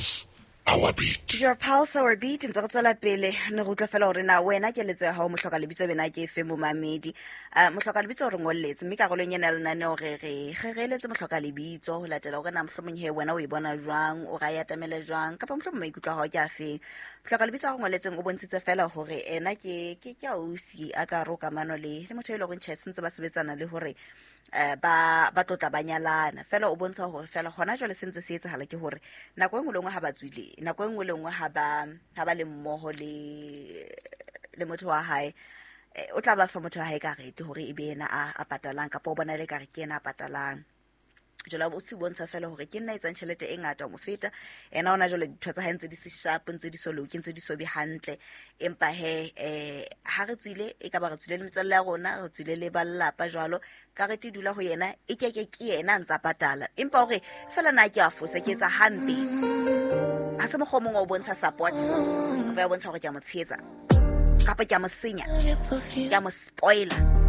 Pulse, our beat. Your pulse, our beat. Ntse re tswela pele ne re utlwa fela gore na wena keletso ya gago mohloka lebitso bena ke efe momamedi. Mohloka lebitso o re ngolletse, mme karolong ena ya lenaneo re re re re eletse mohloka lebitso ho latela hore na mohlomong he wena o e bona jwang, o ra e atamele jwang, kapa mohlomong maikutlo a hao ke a feng. Mohloka lebitso a re ngolletseng o bontshitse fela hore ena ke ausi a ka re o kamano le motho e leng hore tjhe, sentse ba sebetsana le hore ba tlotla ba nyalana. Fela o bontsha hore fela hona jwale se ntse se etsahala ke hore nako e nngwe le nngwe ha ba tswile, nako e nngwe le nngwe ha ba le mmoho le motho wa hae, o tla ba fa motho wa hae karete hore e be yena a patalang, kapa o bona le kare ke yena a patalang. Jwale o se bontsha fela hore ke nna etsang tjhelete e ngata ho mo feta. Ena ona jwale dintho tsa hae ntse di se sharp, ntse di so loke, ntse di so be hantle. Empa he, ha re tswile, e ka ba re tswile le metswalle ya rona, re tswile le ba lelapa jwalo, karete e dula ho yena, e keke ke yena a ntsa patala. Empa hore fela na ke a fosa, ke etsa hampe. Ha se mokgwa o mongwe o bontsha support, kapa ya bontsha hore ke a mo tshehetsa, kapa ke a mo senya, ke a mo spoiler.